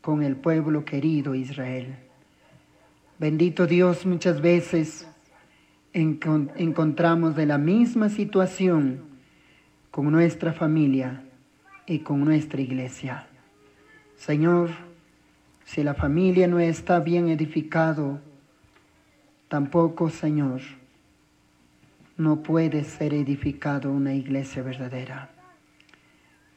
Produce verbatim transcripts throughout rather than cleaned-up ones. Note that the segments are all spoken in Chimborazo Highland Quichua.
con el pueblo querido Israel. Bendito Dios, muchas veces encontramos de la misma situación con nuestra familia y con nuestra iglesia. Señor, si la familia no está bien edificado, tampoco, Señor, no puede ser edificado una iglesia verdadera.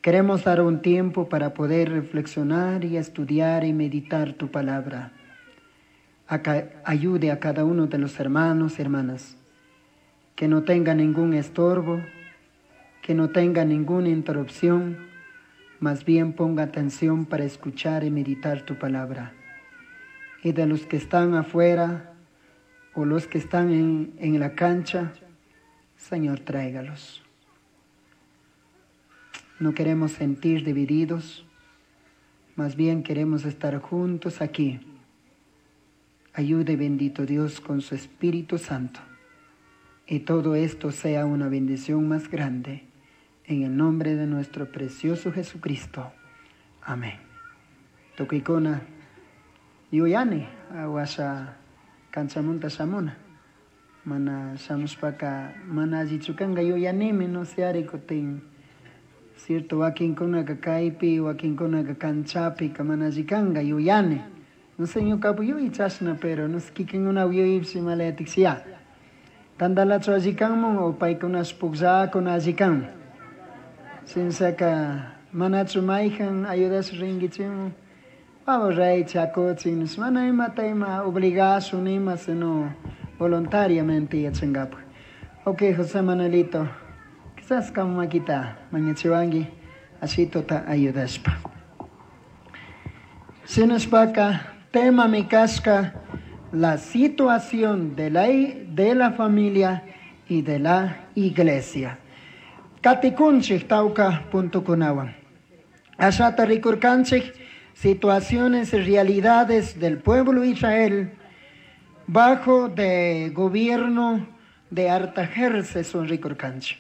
Queremos dar un tiempo para poder reflexionar y estudiar y meditar tu palabra. Ayude a cada uno de los hermanos y hermanas que no tenga ningún estorbo, que no tenga ninguna interrupción, más bien ponga atención para escuchar y meditar tu palabra. Y de los que están afuera o los que están en, en la cancha, Señor, tráigalos. No queremos sentir divididos, más bien queremos estar juntos aquí. Ayude, bendito Dios, con su Espíritu Santo. Y todo esto sea una bendición más grande. En el nombre de nuestro precioso Jesucristo. Amén. Tukuykuna yuyani washa kanchamunta shamuna. Mana shamushpaka mana allichu kanka yuyanimi no sé ari kutin. Cierto, wakinkunaka kaypi, wakinkunaka kanchapi, mana alli kanka yuyani. No sé ñukapu yuyi chashna, pero no sé kikinkuna yuyipshi malayatikshi ya. Tantalachu alli kanman o paykunash pukllakuna alli kanman. Shinshaka manachu mayjan ayudash rinkichimun. Vamos rey chakuchin, mana imata ima obligashun ima, sino voluntariamente yachankapak. Ok, José Manuelito, quizás kama makita mañachiwanki ashitota ayudashpa. Shinashpaka tema mi kashka la situación de la, de la familia y de la iglesia. Katikunchik tawka puntukunawan. Ashata rikurkanchik situaciones y realidades del pueblo Israel bajo de gobierno de Artajerjes son rikurkanchik.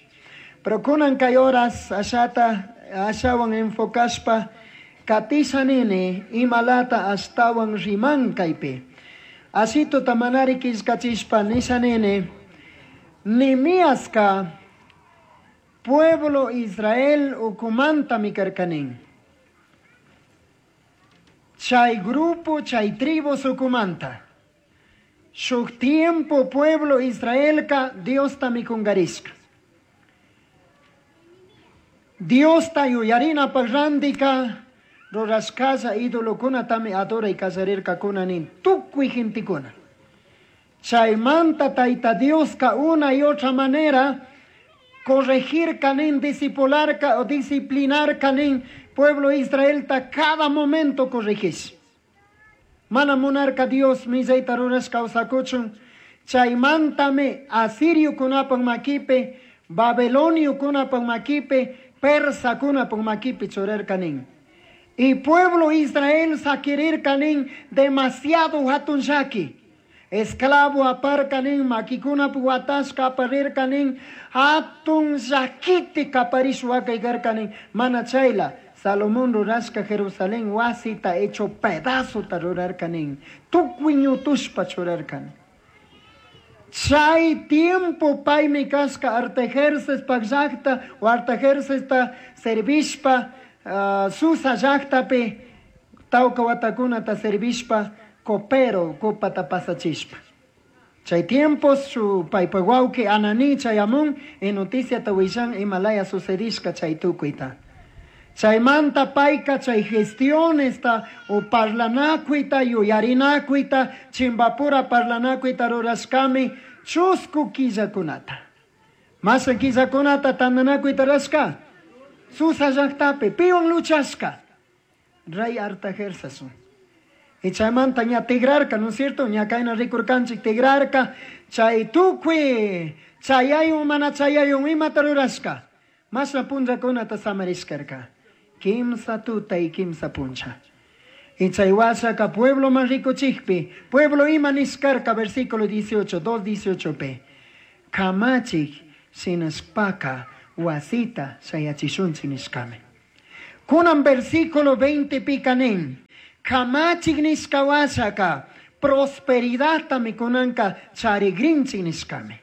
Pero kunan kay horas ashata ashawan enfocashpa katishanini imalata ashtawan riman kaypi. Ashito tamanari killkachishpa nishanini Nehemiaska pueblo Israel ukumanta mikarkanin. Chay grupo, chay tribus ukumanta. Shuk tiempo pueblo Israelka Dios ta mikungarishka. Dios ta yuyarina parrandika rurashkalla idolokunatami adoray kallarirkakuna tukuy gentekuna. Chaymanta Tayta Dioska una y otra manera corregir kanin, discipular o disciplinar kanin pueblo Israel ta cada momento corregis. Mana monarca Dios millayta rurashka kawsakuchun. Chaymantami asiriokunapak makipi, babiloniokunapak makipi, persakunapak makipi churarkanin. Y pueblo Israel sakirirkanin demasiado hatun llaki. Esclavo aparkanin, makikunap watashka aparirkanin, hatun llakiti kaparish wakaykarkanin. Mana chayla, Salomón rurashka Jerusalén wasita hecho pedazo ta rurarkanin. Tukuy ñutushpa churarkanin. Chay tiempo paymi kashka Artajerjes pak llakta o Artajerjes ta servishpa uh, Susa llaktapi tawka watakunata servishpa copero copata pasachishpa. Chay tiempos su paypa wawqi Ananí chayamun y noticia ta willan imalaya sucedishka chay tukuyta. Chaymanta payka chay gestionesta o parlanakuyta yuyarinakuyta chimbapura parlanakuyta rurashkami chusku killakunata. Masha killakunata tandanakuyta rurashka. Susa llaktapi piwan luchashka. Rey Artajerjes. Y chaymanta ña tigrarka, ¿no es cierto? Ña kayna rikurkanchik tigrarka. Chay tukuy chayayun mana chayayun imata rurashka. Masha punllakunata samarishkarka. Kimsa tuta y kimsa puncha. Y chay washaka pueblo man rikuchikpi, pueblo ima nishkarka, versículo dieciocho, dos dieciocho p. Kamachik shinashpaka wasita shayachishunchi nishkame. Kunan versículo veinte pikanin. Kamachik nishka washaka prosperidadtami kunanka charigrinchik nishkami.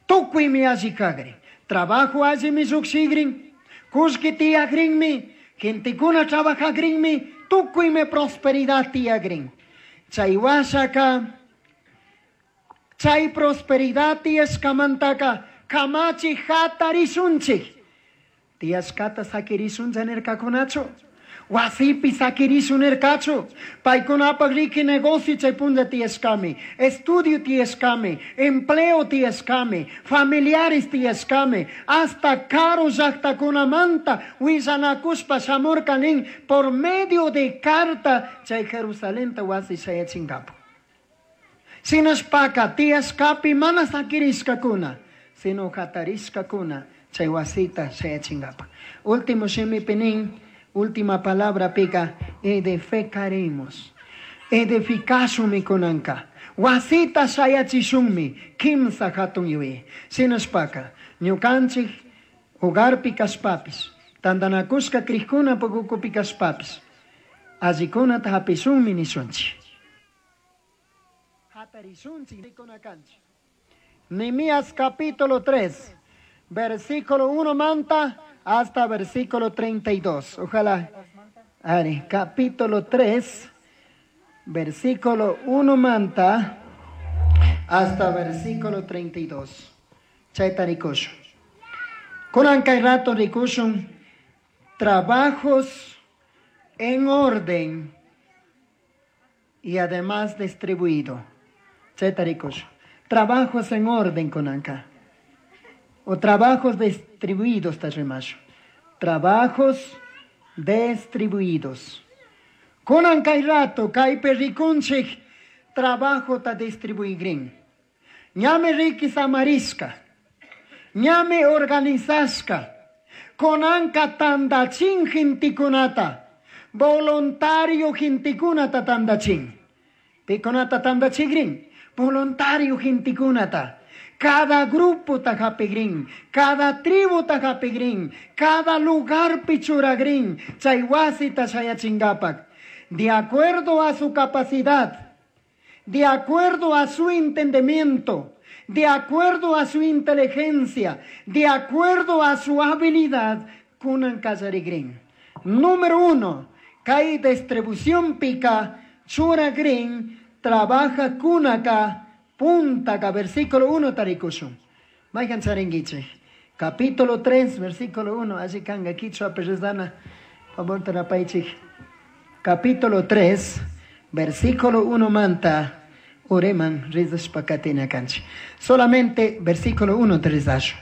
Tukuymi alli kagrin. Trabajo allimi llukshigrin. Kullki tiyagrinmi. Gentekuna trabajagrinmi. Tukuymi prosperidad tiyagrin. Chay washaka chay prosperidad tiyashkamantaka kamachi hatarishunchik. Tiyashkata sakirishuncha nirkakunachu. Wasipi sakirishun nirkachu. Paykunapaq riki negocio chay punlla tiyashkami. Estudio tiyashkami. Empleo tiyashkami. Familiares tiyashkami. Hasta karu llaqtakunamanta willanakushpa shamurka nin por medio de carta chay Jerusalenta wasi shayachinkapu. Shinashpaka tiyashkapi mana sakirishkakuna, sino hatarishkakuna chay wasita shayachinkapak. Último shimipi nin, última palabra pika, edificaremos. Edificashunmi kunanka. Wasita shayachishunmi, kimsa hatun yuyay. Shinashpaka, ñukanchik hogarpi kashpapis, tantanakushka krikkunapak ukupi kashpapis, allikunata hapishunmi nishunchik. Nehemías capítulo tres, versículo uno manta hasta versículo treinta y dos. Ojalá. Ari, capítulo tres, versículo uno manta hasta versículo treinta y dos. Chayta rikushun. Kunan kay rato rikushun trabajos en orden y además distribuido. Chayta rikushun. Trabajos en orden kunanka. O trabajos distribuidos, tasrimashu. Trabajos distribuidos. Kunan kay rato, kaypi rikunchik, trabajo ta distribuigrin. Ñami riki samarishka. Ñami organizashka. Kunanka tandachin gintikunata. Voluntario gintikunata tandachin. Pikunata tandachigrin. Voluntario gintikunata. Cada grupo tajapigrin, cada tribu tajapigrin, cada lugar pichuragrin, chay wasita chayachingapak. De acuerdo a su capacidad, de acuerdo a su entendimiento, de acuerdo a su inteligencia, de acuerdo a su habilidad, kunan kallarigrin. Número uno, kay distribución pica, churagrin, trabaja kunaka, punta, versículo uno tarikushun. Mayhan charinguiche. Capítulo tres, versículo uno. Allí kanga kichwa perezana. Favor tarapaichik. Capítulo tres, versículo uno manta. Ureman rizashpakatina kanchi. Solamente versículo uno te rizashu.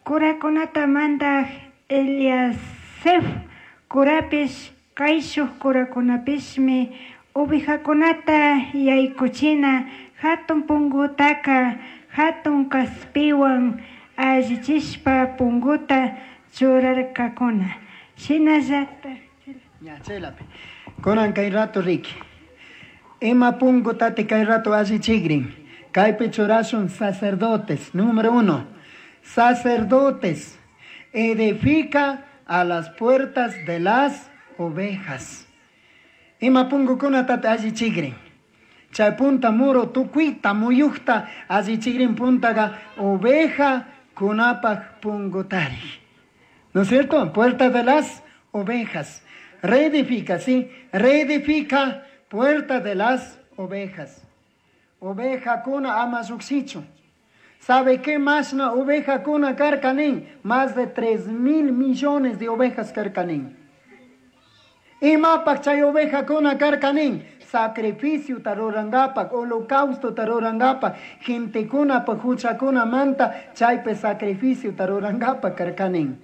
Kurakunata mandaj Eliasef kurapish kayshuj kurakunapishmi ovejakunata yaykuchina hatun pungutaka hatun kaspiwan allichishpa punguta churarkakuna. Shinallata. Ya, chelapi. Kunan kay rato riki. Ima pungutate kay rato allichigrin. Kaypi churashun sacerdotes. Número uno. Sacerdotes. Edifica a las puertas de las ovejas. Ima pungukunata allichigrin. Chay punta muro tukuita muyukta allichigrin puntaga oveja kunapaj pungutari. ¿No es cierto? Puerta de las ovejas. Reedifica, sí. Reedifica puerta de las ovejas. Oveja kuna ama llukshichun. ¿Sabe qué más na oveja kuna karkanin? Más de tres mil millones de ovejas karkanin. Imapak chay oveja kuna karkanin? Sacrificio tarurangapak, holocausto tarurangapak, gente kuna pa hucha kuna manta, chaype sacrificio tarurangapak karkanin.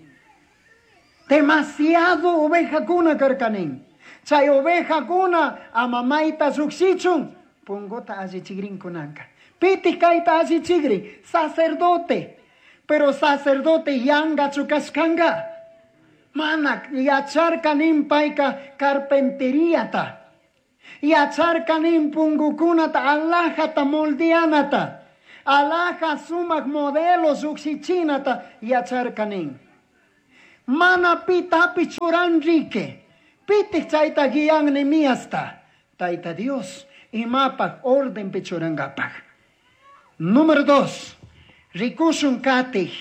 Demasiado oveja kuna karkanin. Chay oveja kuna amamaita llukshichun, pungota allichigrin kunanka. Piti kayta allichigrin, sacerdote. Pero sacerdote yanga chukashkanga. Mana yacharkanin payka carpenteriata. Yacharkanin pungukunata alajata moldeanata. Alaja sumak modelos lluksichinata yacharkanin. Mana pitapi churanrike. Pitik chayta guian Nehemiasta. Tayta Dios imapaj orden churangapaj. Número dos. Rikushun katij.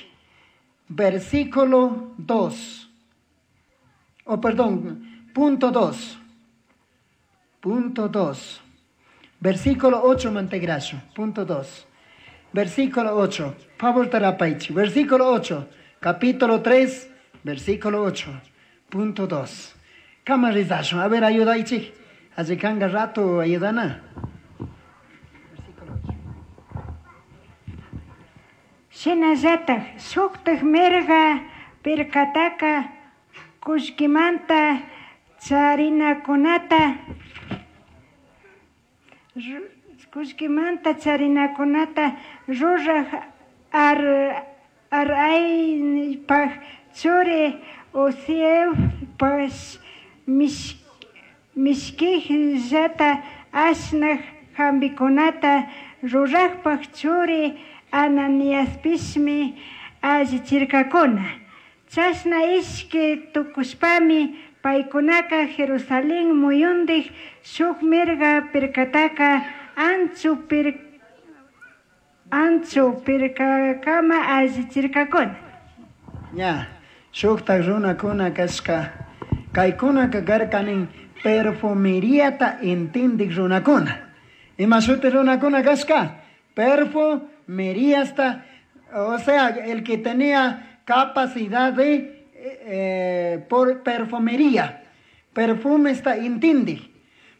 Versículo dos. Oh, perdón, punto dos. Punto dos. Versículo ocho, Mantegracho. Punto dos. Versículo ocho. Favor tarapaichi. Versículo ocho. Capítulo tres, versículo ocho. Punto dos. Kamarizacho. A ver, ayudaichi. Allí kanga rato ayudana. Versículo ocho. Shinallataj shuktaj mirga pirkataka kullkimanta charinakunata kullkimanta charinakunata ruraj ar araypaj churi Uzielpash mishkijllata ashnaj hampikunata rurajpaj churi Ananiaspishmi allichirkakuna. Chashna ishki tukushpami paykunaka Jerusalén muyundik shuk mirga pirkataka anchu pir anchu pirkakama allichirkakuna. Ya, shuktak runakuna kashka kaykunaka karkanin perfumeriata intindik runakuna. Ima shuti runakuna kashka? Perfumeriasta, o sea, el que tenía capacidad de eh, por perfumería, perfume está intindi.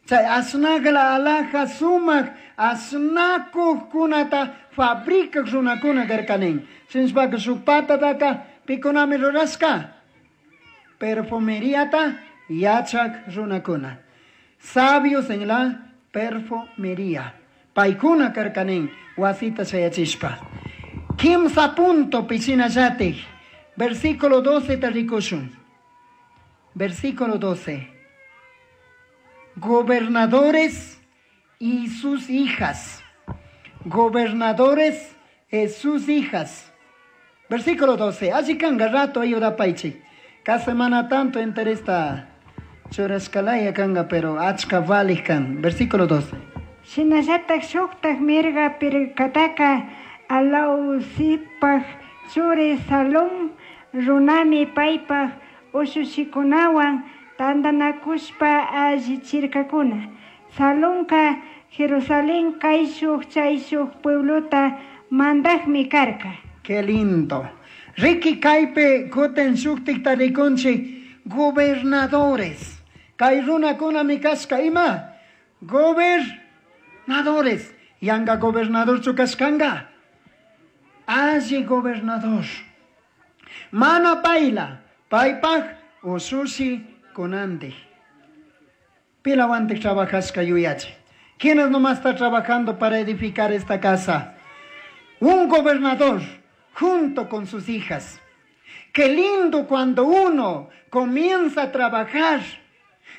Chay asnagla alhaja sumak asnakuqkunata fabricaq runakuna karkanin. Shinashpaka shuk patataka pikunami rurashka. Perfumeriata yachak runakuna. Sabios en la perfumería. Paykuna karkanin wasita shayachishpa. Kimsa punto pichinallatik. Versículo doce tarikushun. Versículo doce. Gobernadores y sus hijas. Gobernadores y sus hijas. Versículo doce. Allí kanga rato ayuda paichi. Cada semana tanto interesta churashkalaya kanga, pero achka valij kan. Versículo doce. Shinallataj shuktaj mirga pirkataka Alausipaj churi Salum runami paypaj ushushikunawan tantanakushpa allichirkakuna. Salumka Jerusalén kayshuj chayshuj pueblota mandajmi karka. Qué lindo. Riki kaypi kutin shuktikta rikunchik gobernadores. Kay runakunami kashka ima? Gobernadores. Yanga gobernador chukashkanga. Alli gobernador. Mana payla, paypaj ushushi kunandik. Pilawantik trabajashka yuyachi. ¿Quiénes nomás está trabajando para edificar esta casa? Un gobernador junto con sus hijas. Qué lindo cuando uno comienza a trabajar.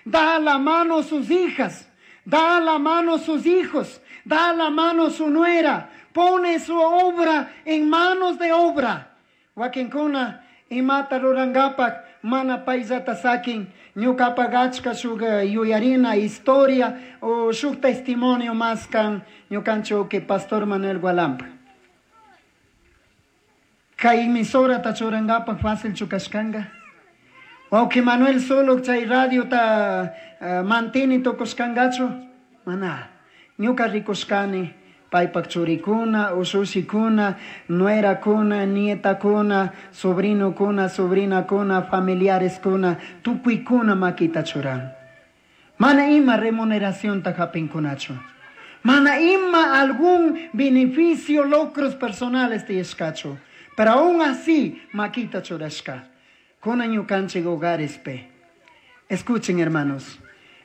Da la mano a sus hijas, da la mano a sus hijos, da la mano a su nuera, pone su obra en manos de obra. Wakinkuna imata rurangapak mana payllata sakin ñukapak achka shuk yuyarina historia o shuk testimonio más kan ñukanchik que Pastor Manuel Gualampa. Kay emisorata churangapak fácil chukashkanga. Wawqi Manuel solo chay radio ta uh, mantini tukushkangachu. Mana ñuka rikushkani paypak churikuna, ushushikuna, nuerakuna, nietakuna, sobrinokuna, sobrinakuna, familiareskuna, tukuykuna makita churan. Mana ima remuneracionta hapinkunachu. Mana ima algún beneficio, logros personales tiyashkachu. Pero aún así, makita churashka. Kuna ñukanchik hogares pe. Escuchen, hermanos.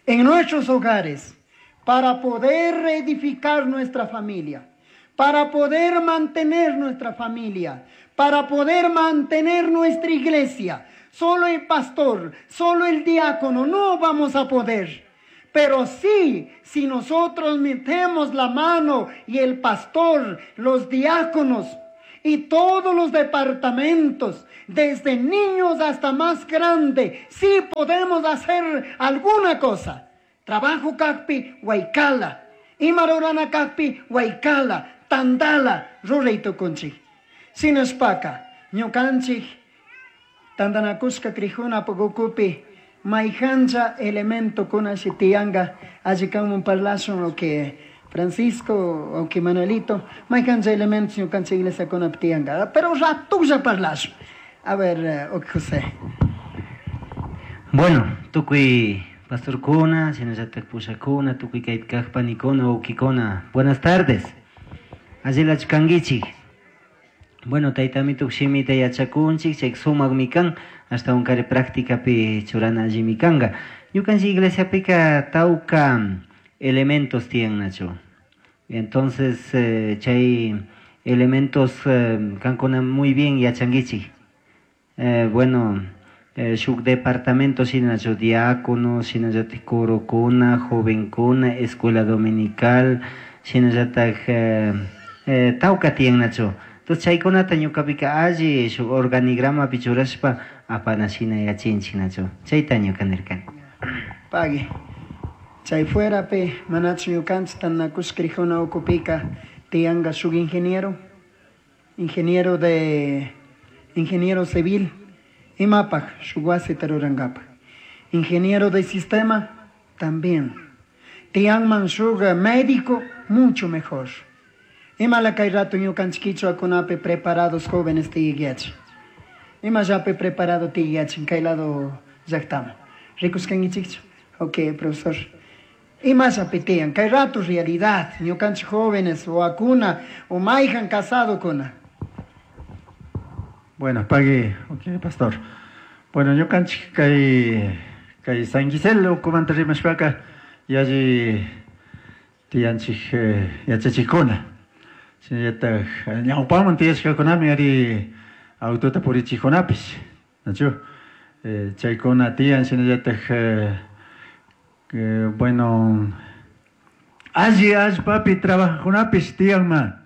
En nuestros hogares, para poder reedificar nuestra familia, para poder mantener nuestra familia, para poder mantener nuestra iglesia, solo el pastor, solo el diácono, no vamos a poder. Pero sí, si nosotros metemos la mano y el pastor, los diáconos, Y todos los departamentos, desde niños hasta más grande, sí podemos hacer alguna cosa. Trabajo kakpi, waykala. Ima rurana kakpi, waykala. Tandala, ruray tukunchik. Shinashpaka, ñukanchik, tandanakushka krijuna ukupi, mayhancha elementokuna shi tiyanga, alli kanman parlashun o que Francisco o que Manuelito, mayhancha elementos ñukanchik iglesiakunapi tiyanga, pero ratulla parlashun. A ver, o José. Bueno, tukuy pastorkuna, shinallatak pushakuna, tukuy kaypi kaq panikuna, wawkikuna. Buenas tardes. Allilachu kankichik. Bueno, tayta amituk shimita yachakunchik, chay sumakmi kan, ashtawankari prácticapi churana allimi kanka. Ñukanchik iglesiapika tawka elementos tiyannachu. Entonces, eh, chay elementos eh, kankuna muy bien yachankichik. Eh, bueno, eh, shuk departamento shinachu diácono, shinallatak corokuna, jovenkuna, escuela dominical, shinallatak eh, eh, tawka tiyannachu. Entonces chaykunata ñukapika alli shuk organigramapi churashpa apana shina yachinchik nachu. Chayta ñuka nirkani. Pagui. Chay fuerapi manachu ñukanchik tandanakushka krijuna ukupika tiyanga shuk ingeniero, ingeniero de ingeniero civil, imapaj shuk wasita rurankapak. Ingeniero de sistema también. Tiyanman shuk médico mucho mejor. Imala kay rato ñukanchik kichwakunapi preparados jóvenes tiyayachin. Imallapi preparado tiyayachin kay lado llaqtaman. Rikushkankichikchu? Ok, profesor. Imallapi tiyan kay rato realidad ñukanchik jóvenes wawakuna o mayhan casadokuna. Bueno, pagui, ok, pastor. Bueno, ñukanchik kay kay San Gisel ukumanta rimashpaka yalli tiyanchik eh, yachachikuna. Shinallatak ñawpaman tiyashkakunami ari autota purichikkunapish, nachu? Eh, chaykuna tiyan shinallatak eh, eh, bueno, alli allpapi trabajajkunapish tiyanma.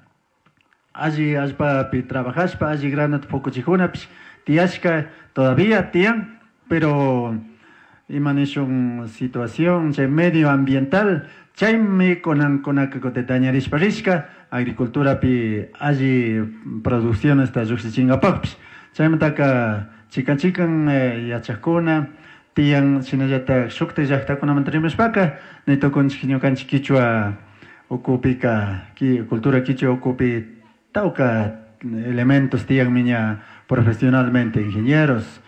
Alli allpapi trabajashpa, alli granata pukuchikkunapish tiyashka todavía tiyan, pero ima nishun situación chay medio ambiental chaymi kunankunaka kutin dañarishpa rishka agriculturapi alli produccionesta llukshichinkapakpish. Chaymantaka chikan chikan eh, yachakuna tiyan shinallatak shuktak llaktakunamanta rimashpaka nitukunchik ñukanchik kichwa ukupika ki, cultura kichwa ukupi tawka elementos tiyanmi ña profesionalmente ingenieros,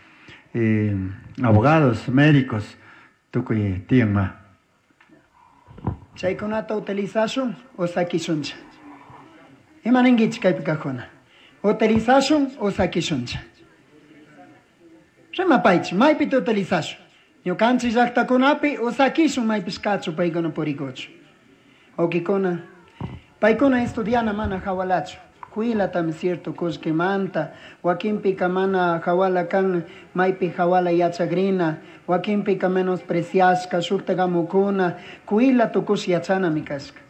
eh, abogados, médicos, tukuy tiyanma. Chaykunata utilizashun o sakishuncha. Ima ninkichik kaypi kaqkuna? Utilizashun o sakishuncha. Rimapaychik, maypita utilizashun? Ñukanchik llaqtakunapi o sakishun maypish kachu paykuna purikuchu. Wawkikuna, paykuna estudiana mana hawalachu. Kuilatami cierto kullkimanta, wakinpika mana hawala kan maypi hawala yachakrina, wakinpika menospreciashka shuktak amukuna, kuila tukush yachanami kashka.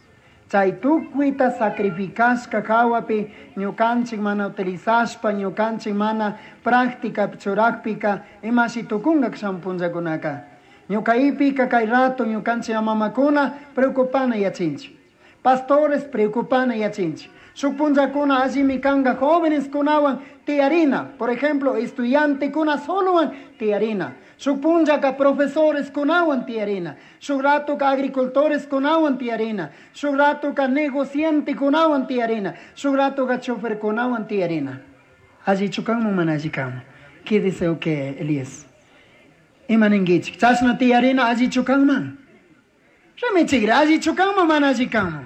Chay tukuyta sacrificashka hawapi ñukanchik mana utilizashpa, ñukanchik mana práctica churakpika imashi tukunka shamuq punllakunaka. Ñukaypika kay rato ñukanchik mamakuna preocupana yachinchik. Pastores preocupana yachinchik. Shuk punllakuna allimi kanka jóvenes kunawan tiyarina, por ejemplo, estudiantekuna solowan tiyarina. Shuk punllaka profesores kunawan tiyarina. Shuk ratoka agricultores kunawan tiyarina. Shuk ratoka negociante kunawan tiyarina. Shuk ratoka chofer kunawan tiyarina. Allichu kanman mana alli kanman. ¿Qué dice o qué, Elías? Ima ninkichik, chashna tiyarina allichu kanman. Rimichikri, allichu kanman mana alli kanman.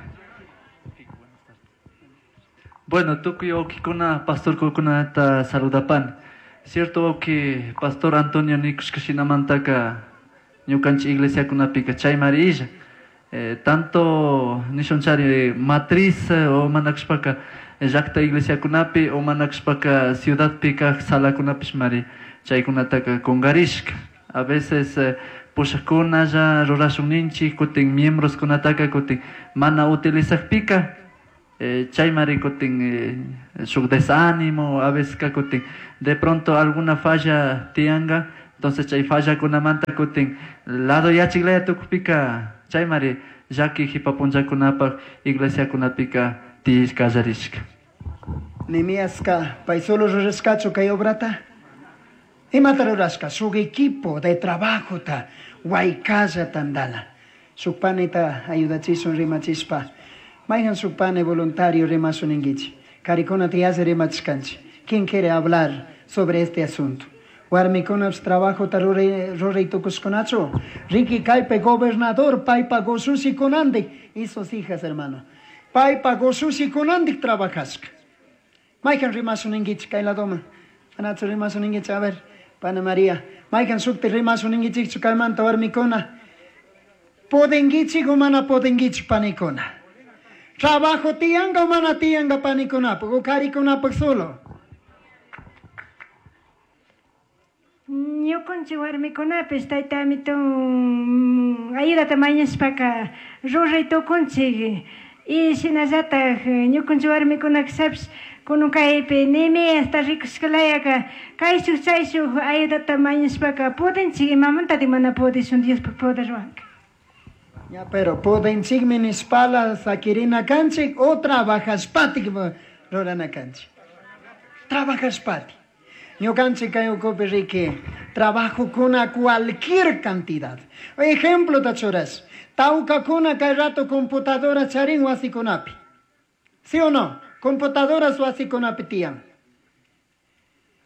Bueno, tukuy wawkikuna, pastor kunata saludapan. Cierto wawki, pastor Antonio nikushka shinamantaka ñukanchik iglesiakunapika chaymari illa. Eh, tanto nishunchari matriz eh, o manakshpaka llaqta iglesiakunapi o manakshpaka ciudadpi kaq salakunapish mari chaykunataka kungarishka. A veces eh, pushaqkunalla rurashun ninchik kutin miembroskunataka kutin mana utilizakpika Eh, chaymari kutin eh, shuk desánimo a veces kutin de pronto alguna falla tianga, entonces chay fallakunamanta kutin lado yachiklaya tukupika chaymari llaki hipapunllakunapaq iglesiakunapika tiyashkallarishka. Nehemiaska pay solo rurashkachu kay obrata? Imata rurashka? Shuk equipo de trabajota waykalla tandana. Shuk panita ayudachishun rimachishpa. Mayhan shuk pane voluntario rimashun ninkichik. Karikunata yalli rimachishkanchik. ¿Quién quiere hablar sobre este asunto? Warmikunapish trabajota ruray ruray tukushkunachu. Riki kaypi gobernador paypa ushushikunadik y sus hijas, hermano. Paypa ushushikunadik trabajashka. Mayhan rimashun ninkichik kay ladoman. Manachu rimashun ninkichik, a ver, pana María. Mayhan shukti rimashun ninkichikchu kaymanta warmikuna. Pudinkichik o mana pudinkichik panikuna. Trabajo tiyanka o mana tiyanka panikunapaq o karikunapaq solo. Ñukanchik warmikunapish tayta amitun ayudata mañashpaka ruray tukunchik y shinallatak ñukanchik warmikunakashapish kunan kaypi Nehemiasta rikushkalayaka kayshuk chayshuk ayudata mañashpaka pudinchik imamantatik mana pudishun Diospaq poderwanka. Ya, pero pudinchikmi nishpala sakirina kanchik o trabajashpatik rurana kanchik. Trabajashpatik. Ñukanchik kay ukupi riki trabajokuna cualquier cantidad. Ejemplo tachuras. Tawkakuna kay rato computadora charin wasikunapi. ¿Sí o no? Computadoras wasikunapi tiyan.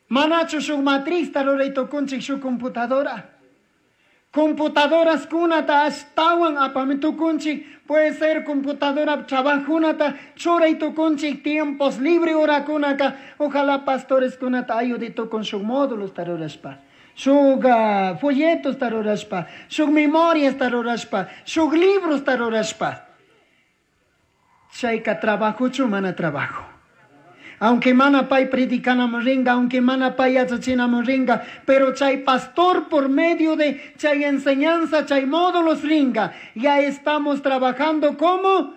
Manachu shuk matriz ruray tukunchik shuk computadora. Computadoras kunata ashtawan apami tukunchik, puede ser computadora trabajunata churay tukunchik tiempos libre horakunaka, ojalá pastores kunata ayude tukun shuk módulos tarurashpa, shuk uh, folletos tarurashpa, shuk memorias tarurashpa, shuk libros tarurashpa. Chayka trabajuchu mana trabajo. Aunque mana pay predicanaman ringa, aunque mana pay yachachinaman ringa, pero chay pastor por medio de chay enseñanza, chay módulos ringa, ya estamos trabajando como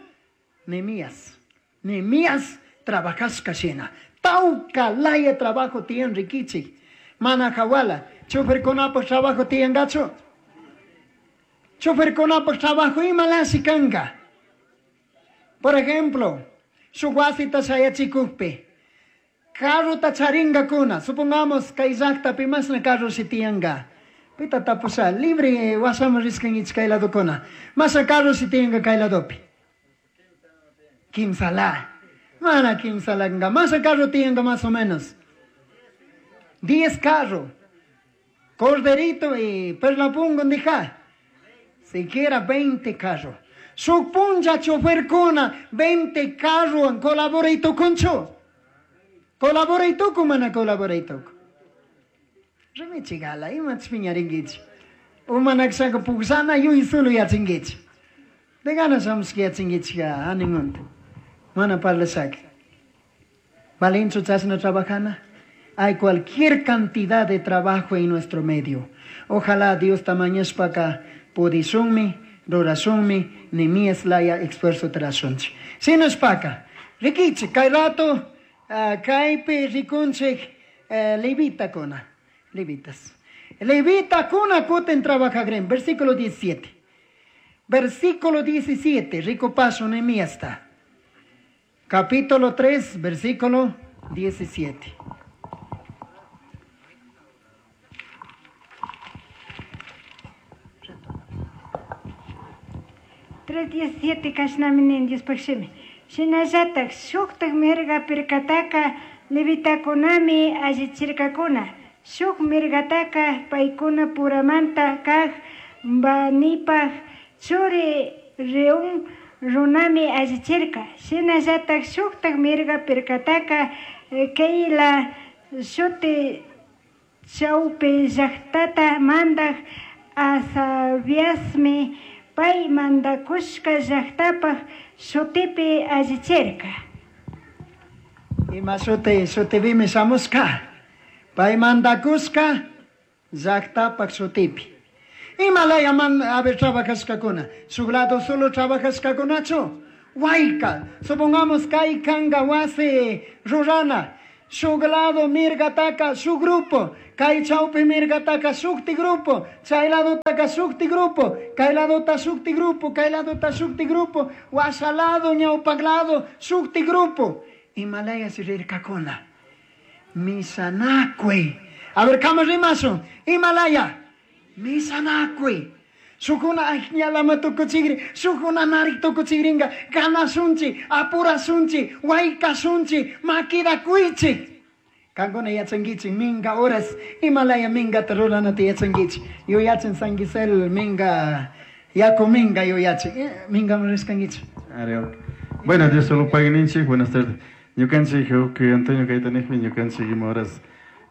Nehemías. Nehemías trabajashka shina. Tawka laya trabajo tiyan rikichik. Mana hawala, choferkunapaq trabajo tiyangachu. Choferkunapaq trabajo imalashi kanga. Por ejemplo, shuk wasita shayachikukpi, carrota charingakuna, supongamos kay llaqtapi masna carro si tiyanga. Pita tapusha, libre wasaman rishkankichik kay ladokuna. Masna carro si tiyanga kay ladopi. Kimsala. Mana kimsalanga. Masna carro tiyanga más o menos. Diez carro. Corderito y Perlapungo ndija. Siquiera veinte carro. Shuk punlla choferkuna, veinte carro colaboray tukunchu. Colaboray tuku mana colaboray tuku. Rimichigala, imach piñarinkichik. Umanakshaka puksana yuy sulu yachinkichik. De ganas shamushka yachinkichik animunta. Mana parlashaka. Valinchu chashna trabajana. Hay cualquier cantidad de trabajo en nuestro medio. Ojalá Dios tamañashpaka pudishunmi, rurashunmi, Nehemías laya esfuerzo trashunchik. Shinashpaka, rikichik, kay rato, uh, kaypi rikunchik uh, levitakuna, levitas. Levitakuna kutin trabajagren, versículo diecisiete. Versículo diecisiete, rico paso Nehemías está. Capítulo tres, versículo diecisiete. Tres diecisiete kashnami nin Diospaq shimi. Shinallatak shuktak mirga pirkataka levitakunami allichirkakuna. Shuk mirgataka paykuna puramanta kaq Banipaq churi Reún runami allichirka. Shinallatak shuktak mirga pirkataka Keila shuti chawpi llaqtata mandaq Asabiasmi pay mandakushka llaqtapaq shutipi allichirka. Ima shuti shutipimi shamushka. Pay mandakushka llaqtapaq shutipi. Ima laya man a ver trabajashkakuna. Shuk lado solo trabajashkakunachu. Huayca, supongamos kay kanga wasi rurana, shuk lado mirgataka shuk grupo, kay chawpi mirgataka shukti grupo, chay ladotaka shukti grupo, kay ladota shukti grupo, kay ladota shukti grupo, washa lado, ñawpak lado, shukti grupo. Himalayas rirkakuna. Misanakui. A ver, kama rimasun. Himalaya. Misanakui. Shukuna añalama tukuchigri, shukuna narik tukuchigringa, ganasunchi, apurasunchi, waikasunchi, makidakuichi. Kankuna yachankichik minga horas, Himalaya mingata ruranata yachankichik. Yuyachin San Gisel minga, yaku minga yuyachin. Eh, minga rishkankichik. Are, Bueno, Dios solo pagninchik, buenas tardes. Ñukanchik, que Antonio Caitanijmi, ñukanchik ima horas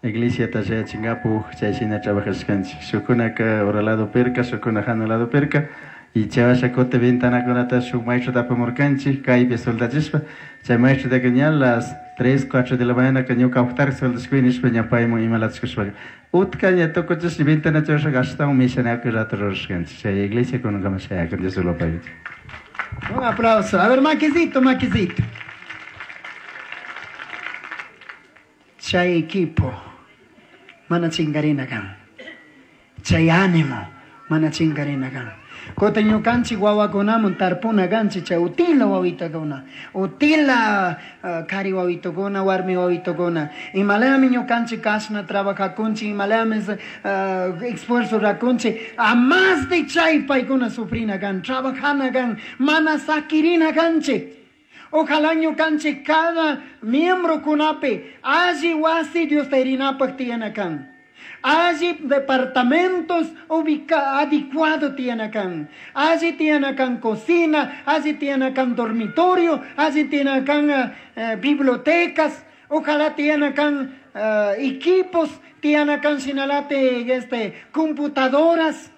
iglesia tashayachinkapu, chay shina trabajashkanchik. Shukunaka ura lado perka, shukuna hana lado perka, y chavasha kote ventanakunata shuk maestro apamurkanchik, kaypi soldachishpa, chay maestrotaka ña las tres, cuatro de la mañana ka ñuka uqtarik soldashkuni nishpa ña paymun imalachikushpaka. Utka ña tukuchish ventana churashaka ashtawan mishanakuy rato rurashkanchik. Chay iglesia kunankama shayakun, Dios lo pague. Un aplauso. A ver, maquisito, maquisito. Chay equipo, mana chingarina kan. Chay ánimo, mana chingarina kan. Kota ñukanchik wawakunamun tarpuna kanchik chay utila wawitakuna, utila uh, kari wawitukuna, warmi wawitukuna. Imalami ñukanchik kashna trabajakunchik, imalami uh, esfuerzo rakunchik, a más de chay paykuna sufrina kan, trabajana kan, mana sakirina kanchik. Ojalá ñukanchik cada miembro kunapi alli wasi Dios tayrinapaq tiyana kan. Allí departamentos ubica, adecuados tienen acá. Allí tienen acá cocina, allí tienen acá dormitorio, allí tienen acá eh, bibliotecas. Ojalá tienen acá eh, equipos, tienen acá sinalate, este, computadoras.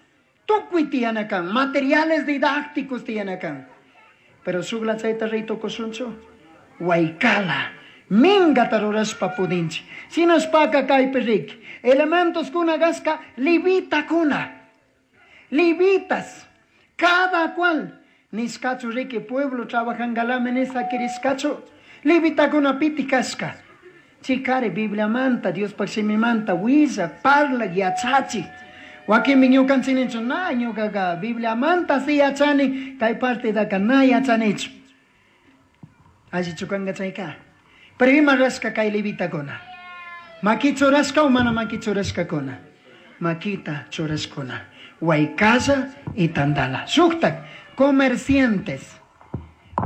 Tukuy tienen acá, materiales didácticos tienen acá. Pero shukla chayta rito kosuncho, huaycala. Minga tarurashpa pudinchi. Sinashpaka kaypi riki. Elementos kuna gasca, levita kuna. Levitas. Cada cual. Nishkachu riki pueblo trabajan galame nisa kirishkachu. Levita kuna piti kashka. Chikare Biblia manta, Dios manta, willa, parla, yachachi. Wakinmi ñukanchik ninchu, na ñukaqa Biblia manta si yachani, kay partidaka na yachanichu. Allichu kanka chayka. Pero ima rashka kay levitakuna. Maki churashka o mana maki churashkakuna. Makita churashkuna. Huaycalla y Tandala. Shuktak, comerciantes.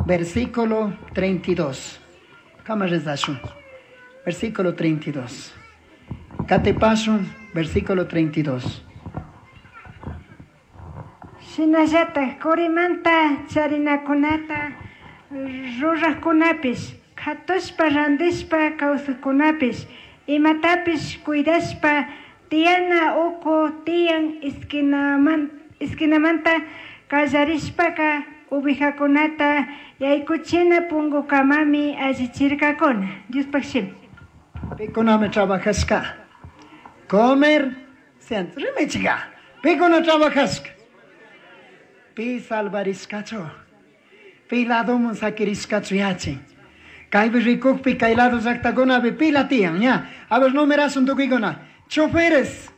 Versículo treinta y dos. Kama rezashun. Versículo treinta y dos. Katepashun, versículo treinta y dos. Shinallataj kurimanta charinakunata rurajkunapish, katushpa randishpa kawsajkunapish, imatapish cuidashpa tiyana uku tiyan esquinaman, esquinamanta kallarishpaka ubijakunata yaykuchina punkukamami allichirkakuna. Diospaq shimi. Pikunami trabajashka. Comer, rimichiga. Pikuna trabajashka. Pi salvarishkachu. Pi ladomun sakirishkachu yachin. Kaypi rikukpi kay lado llaqtakunapi pila tiyan, ña. A ver, numerasun tukuykuna. Choferes,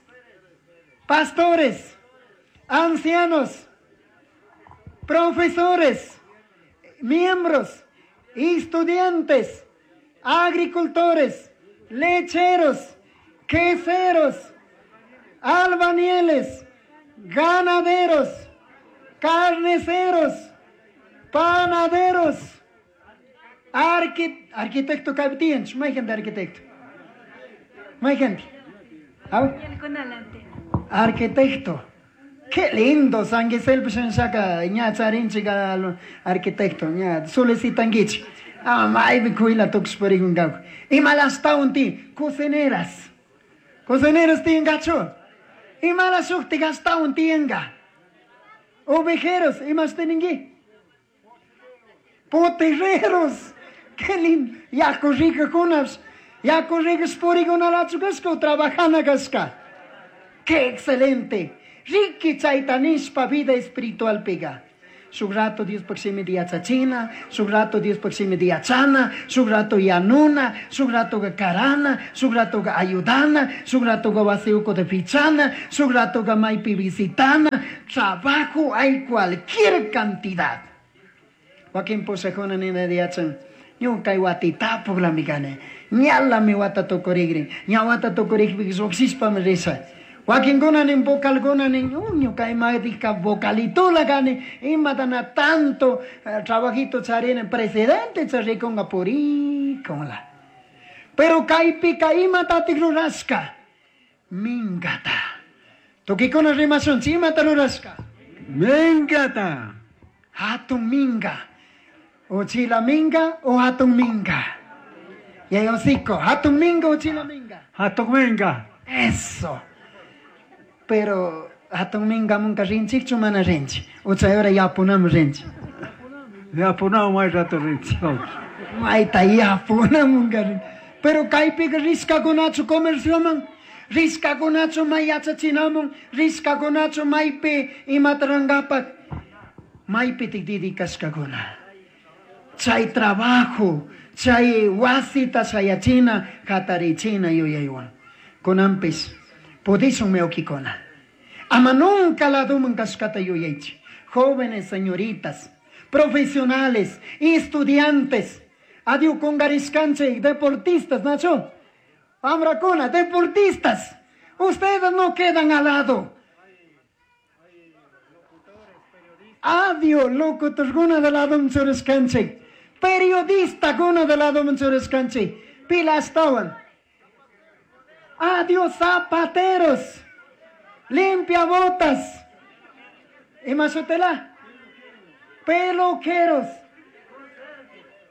pastores, ancianos, profesores, miembros, estudiantes, agricultores, lecheros, queseros, albañiles, ganaderos, carniceros, panaderos, arqui arquitecto kaypi may gente arquitecto. May gente. Arquitecto. Qué lindo, San Gisel shanshaka ña charinchika arquitecto, ña solicitankichik. Ah, maypi kuyla tukushparikunkaku. Imalastawan ti cocineras. Cocineras tiyankachu. Imala shukti gastawan tiyanka. Ovejeros, imash tininki. Poterreros. Qué lindo. Yaku rikakunash. Yaku rikas purikunalachu kashka o trabajana kashka. Qué excelente. Riki chayta nishpa vida espiritual piga. Shuk rato Diospaj shimita yachachina, shuk rato Diospaj shimita yachana, shuk rato yanuna, shuk ratoka karana, shuk ratoka ayudana, shuk ratoka wasi ukuta pichana, shuk ratoka maypi visitana. Trabajo hay cualquier cantidad. Wakin pushakuna nina yachan, ñuka watitapuklami kani, ñalami wata tukurikrin, ña wata tukurikpika llukshishpami risha. Wakinkuna nin vocalkuna nin, ñuka imatika vocalitula kani, imata na tanto eh, trabajito charini, presidente charikunga purikunla. Pero kaypika imatatik rurashka, minkata. Tukikuna rimashunchik, imata rurashka? Minkata. Hatun minga. Uchila minga o hatun minga. Yayosico, hatun minga o uchila minga. Hatun minga. Eso. Pero hatun minga munka rinchikchu mana rinchi. Uchayora yapunam rinchi. Yapunam may rato rinchi. Mayta yapunam munka rinchi. Pero kaypika rishkakunachu comercioman, rishkakunachu may yachachinamun, rishkakunachu maypi imata rurangapak, maypitik dedicashkakuna. Chay trabajo, chay wasita shayachina, hatarichina yuyaywan. Kunanpis, pudishun wawkikuna. Ama nunca laduman kashkata yuyaychik. Jóvenes, señoritas, profesionales, estudiantes, adiós kungarishkanchik, deportistas, Nacho. Wamrakuna, deportistas. Ustedes no quedan al lado. Adiós, locutorkuna de lado churashkanchik. Periodista kuna de lado churashkanchik. Pilastawan. Adiós, zapateros. Limpia botas. Imashutela. Peluqueros.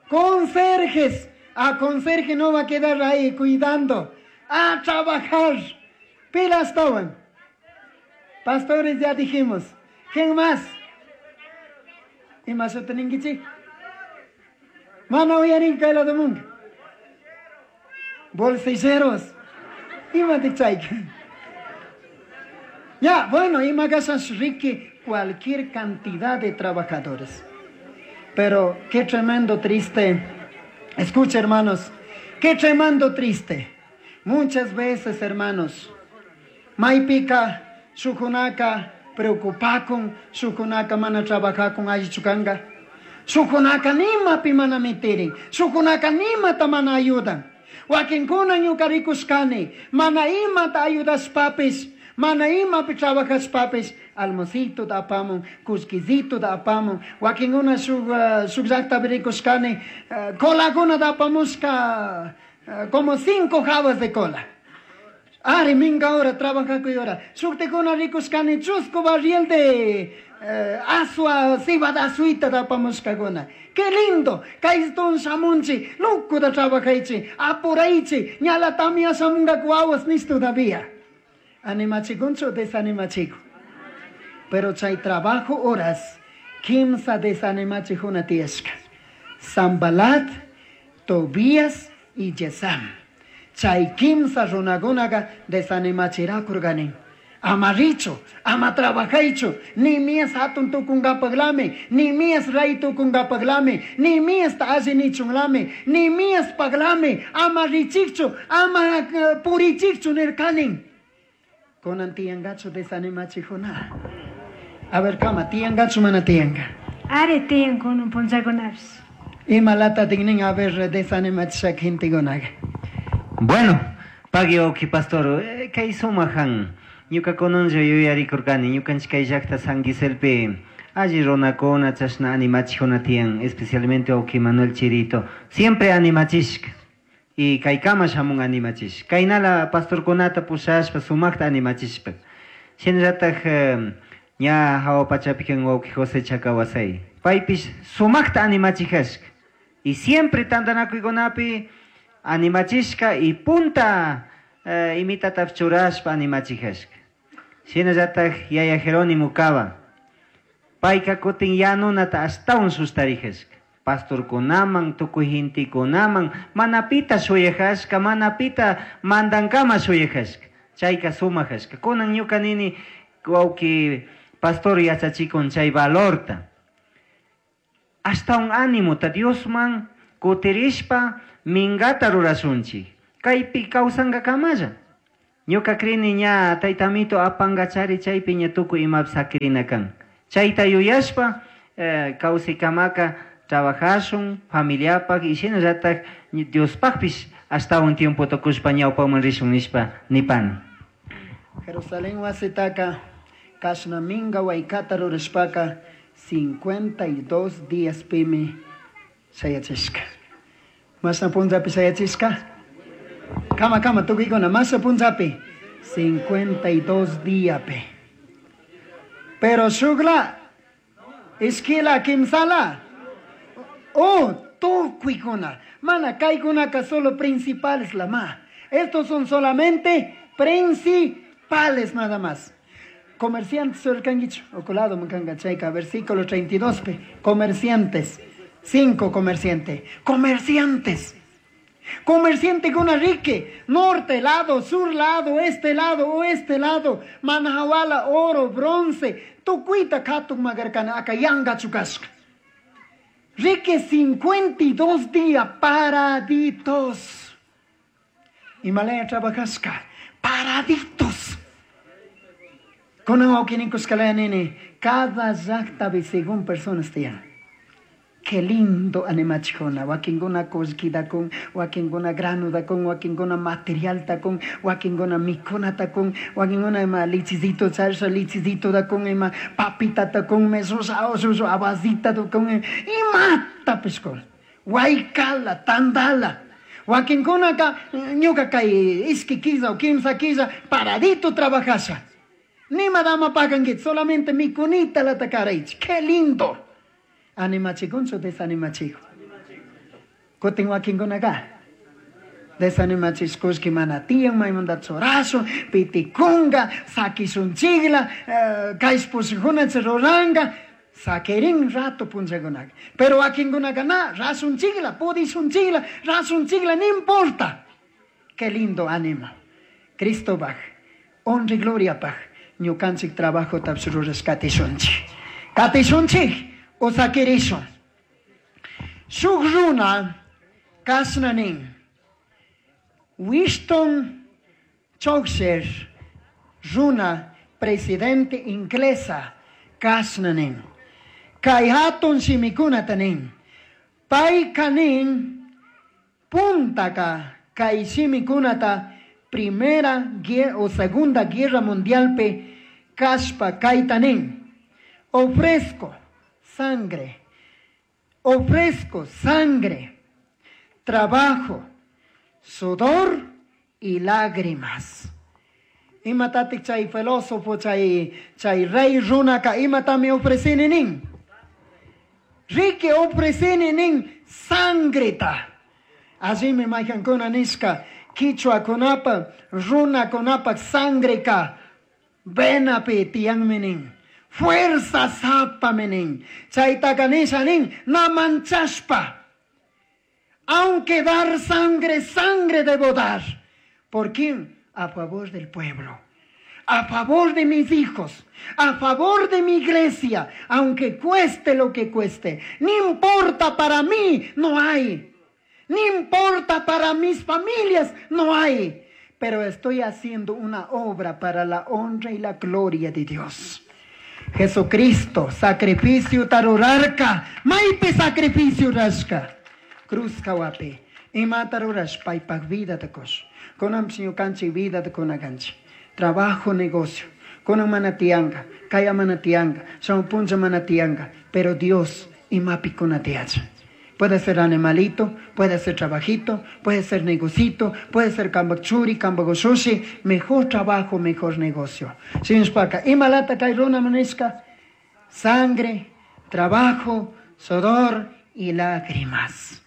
Conserjes. A conserje no va a quedar ahí cuidando. A trabajar. Pilastawan. Pastores ya dijimos. ¿Quién más? Imashuteninkichik. Mana uyarin kay lado munga. Bolsilleros. Ima chayka. Ya, bueno, ima kasas riqui cualquier cantidad de trabajadores. Pero qué tremendo triste. Escucha, hermanos, qué tremendo triste. Muchas veces, hermanos, maypika, shukunaka, preocupakun, shukunaka mana trabajakun allichukanga. Shukunaka nimapi mana mitirin, shukunaka nimata mana ayudan. Wakinkuna ñuka rikushkani, mana imata ayudashpapis, mana imapi trabajashpapis, almocito da apamun, kullkisito da apamun, wakinkuna shuk, uh, shuk llaktapi rikushkani, uh, colakuna da apamushka, uh, como cinco jabas de cola. Ari minga hora trabajakuy hora. Shuktikuna rikushkani chusku barril de eh, asua, cebada asuita da apamushkakuna. Qué lindo, kaystun shamunchi, lukuta trabajaychi, apuraychi, ñala tamia shamunga aguas nis todavía. Animachikunchu desanimachiku. Pero chay trabajo horas, kimsa desanimachikuna tiyashka. Sambalat, Tobías y Yesam. Chay kimsa runakunaqa desanimachirakurqanin. Ama richu, ama trabajaychu, Nehemías hatun tukunkapaklami, Nehemías rey tukunkapaklami, Nehemías ta alli nichunlami, Nehemías paklami, ama richikchu, ama uh, purichikchu nirkanin. Kunan tiyankachu desanimachikuna. A ver, kama, tiyankachu mana tiyanka. Ari tiyan kunan punchakunapish. Imalata tignin a ver desanimachishaka gentekunaqa. Bueno, pagui wawki pastor, eh, kay sumajan. Ñuka kunanlla yuyarikurkani, ñukanchik kay llakta San Giselpi alli runakuna chashna animachikuna tiyan, especialmente wawki Manuel Chirito, siempre animachishka. Y kaykama shamun animachishka. Kaynala pastorkunata pushashpa sumakta animachishpa. Shinallatak eh, ña hawa pachapi kan wawki José Chacawasay. Paypish sumakta animachijashka. Y siempre tantanakuykunapi animachishka y punta eh, imitata churashpa animachijashka. Shinallatak yaya Jerónimo Cava. Payka kutin yanunata ashtawan sustarijashka. Pastorkunaman, tukuy gentekunaman, manapita shuyajashka, manapita mandankama shuyajashka. Chayka sumajashka. Kunan ñuka nini wawki pastor yachachikun chay valorta. Ashtawan ánimota Diosman kutirishpa mingata rurashunchik. Kaypi kawsankakamalla. Ñuka krini ña taytamito apangachari chaypi ña tukuy imapi sakirina kan. Chayta yuyashpa eh, kawsaykamaka trabajashun familiapaq y shinallatak Diospaqpish ashtawan tiempota kushpa ñawpaman rishun nishpa nipani. Jerusalén wasitaka kashna minga waykata rurashpaka cincuenta y dos días pimi shayachishka. Mashna punllapi shayachishka? Kama kama tukuykuna mashna punllapi cincuenta y dos díapi. Pero shukla ishkila kimsala oh tukuykuna mana kaykunaka solo principales la ma. Estos son solamente principales nada más. Comerciantes surkanguicho oculado mukanga chayka versículo treinta y dos pe. Comerciantes, cinco comerciantes, comerciantes. Comerciante con rique, norte lado, sur lado, este lado, oeste lado, manajawala, oro, bronce, tukuita katuk magarkana aka yanga chukashka. Rique cincuenta y dos días paraditos. Himalaya trabajashka, paraditos. Con nene, cada llaqtapi según personas te llaman. Qué lindo animachikuna, wakinkuna kullkita kun, wakinkuna granuta kun, wakinkuna materialta kun, wakinkuna mikunata kun, wakinkuna ima lichizito charsha lichizito da kun, ima papita ta kun, mesusa osusu abazita ta kun, imatapish kun, waykala, tandala. Wakinkuna ka, ñuka kay iski killa o kimsa killa, paradito trabajasha. Ni madama paganguit, solamente mikunita la takaraichi. Qué lindo. Animachikunchu desanimachiku. Kutin wakinkunaka. Desanimachishkushki mana tiyan maymanta churashun, pitikunga, sakishunchikla, kayshpushkunach ruranga, sakirin rato punchakunaka. Pero wakinkunaka na, rashunchikla, pudishunchikla, rashunchikla, no importa. Qué lindo ánimo. Cristo baj, honra y gloria paj, ñukanchik trabajo tapshururas katishunchik. Katishunchik. O sakirishun. Shuk runa kashna nin. Winston Churchill runa presidente inglesa kashna nin. Kay hatun shimikunata nin. Pay kanin puntaka kay shimikunata primera guerra o segunda guerra mundial pe kashpa kayta nin. Ofrezco sangre, ofrezco sangre, trabajo, sudor y lágrimas. Imatatik chay filósofo, chay, chay rey runaka, imatami ofrecini nin. Rique ofrecini nin sangreta. Allí me majankuna nishka, kichwa kunapa, runa kunapa, sangreka, venapi tianmi nin. Fuerza zapa menin. Chaytaka nisha nin, na manchashpa. Aunque dar sangre, sangre debo dar. ¿Por quién? A favor del pueblo. A favor de mis hijos. A favor de mi iglesia. Aunque cueste lo que cueste. Ni importa para mí, no hay. Ni importa para mis familias, no hay. Pero estoy haciendo una obra para la honra y la gloria de Dios. Jesucristo, sacrificio tarurarca, maipe sacrificio rasca, cruz kawape, ima tarurash paipak vida de kosh, konam siño kanchi vida de konaganchi, trabajo negocio, konam manatianga, kaya manatianga, son puncha manatianga, pero Dios imapi konatiacha. Puede ser animalito, puede ser trabajito, puede ser negocito, puede ser kambachuri, kambagoshushi, mejor trabajo, mejor negocio. Sinspaka, imalata kairuna manisca, sangre, trabajo, sudor y lágrimas.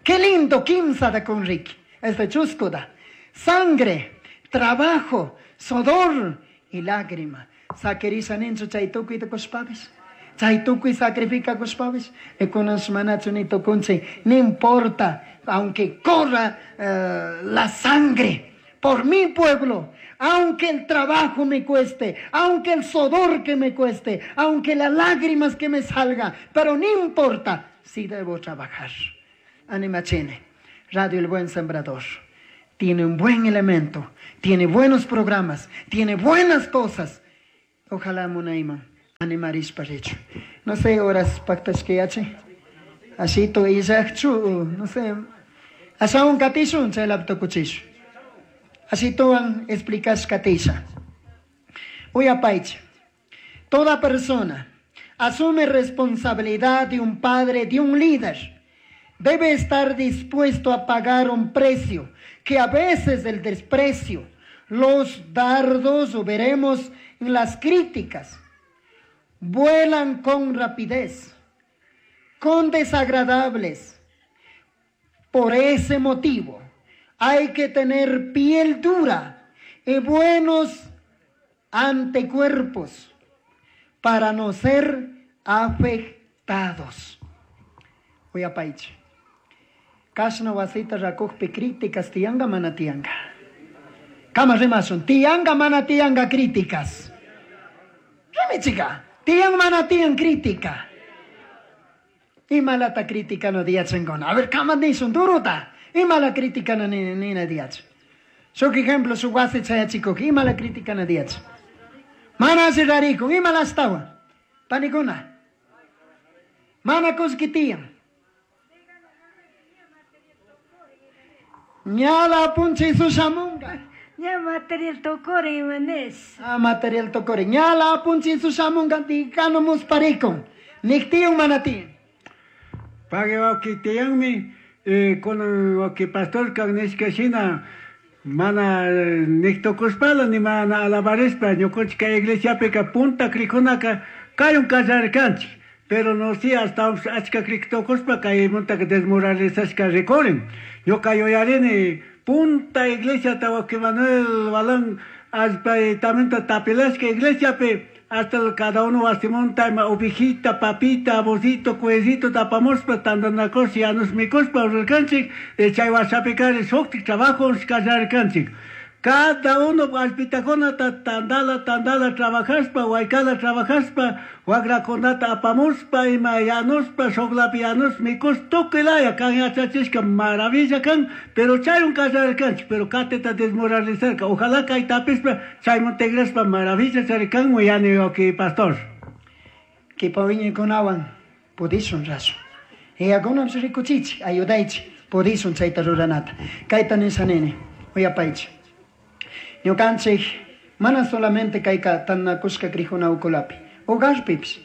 Qué lindo kimsa da con Ricky, este chusco da. Sangre, trabajo, sudor y lágrima. Saquerisa nincho chaytukuy de kospabes. Chaytukuy sacrifica kospabes. Ekunas manachu ni tokunche. No importa, aunque corra eh, la sangre por mi pueblo, aunque el trabajo me cueste, aunque el sudor que me cueste, aunque las lágrimas que me salga, pero no importa, Sí debo trabajar. Animachene. Radio El Buen Sembrador. Tiene un buen elemento, tiene buenos programas, tiene buenas cosas. Ojalá munaima animarish parichu. No sé, horas pactas que yache. Así to izachchu, no sé. Asaun katishun chay laptokuchishu. Así toan explicas katisha. Uyapaicha. Toda persona asume responsabilidad de un padre, de un líder. Debe estar dispuesto a pagar un precio, que a veces el desprecio, los dardos, o veremos en las críticas, vuelan con rapidez, con desagradables. Por ese motivo, hay que tener piel dura y buenos anticuerpos para no ser afectados. Uyapaicha. Kashna wasita rakukpi críticas tianga mana tianga. Kama rimasun, tianga mana tianga críticas. Rimi chica, tiang mana tiang crítica. Imalata crítica no diachengona. A ver, kama nisun duruta. Imala crítica no ni ni na diach. Shuk ejemplo, su wasi chayachiko, imala crítica no diach. Mana rarico, imala astawa. Panikuna. Mana kuskitian. Ñala punchi sushamunga. Ña material tocore imanes. Ah, material tocore. Ñala punchi sushamunga dikano musparikon. Niktiun manatin. Pague wakitianmi eh, con waki pastor kanishka shina mana niktokuspala ni mana alabarispa ñukunchik kay iglesiapika punta krikunaka kayun kallarkanchik. Pero no si hasta achka kriktokuspa kaymunta desmoralizashka rikurin. Ñuka yuyarini punta iglesia waki Manuel Balán allpaytamanta tapilashka iglesiapi hasta cada uno wasimunta ima ovejita, papita, abocito, cuecito tapamuspa tantanakush yanus mikuspa rurkanchik chay wasapikari shuktik trabajos kallarkanchik. Cada uno allpitakunata tandala tandala trabajaspa, waykala trabajaspa, wakrakunata apamuspa, ima yanuspa, shuklapi yanus mikus, tukuy laya kan yachachishka maravilla kan, pero chayun kallarkanchik, pero katita desmoralizarka. Ojalá kaytapispa chayman tigrashpa maravilla charikan yani waki pastor. Kipa wiñaykunawan pudishun rasu. Iyakunapish rikuchichik, ayudaychik, pudishun chayta ruranata. Kayta nisha nini, uyapaychik. Ñukanchik mana solamente kayka tantanakushka krijuna ukulapi, hogarpipish,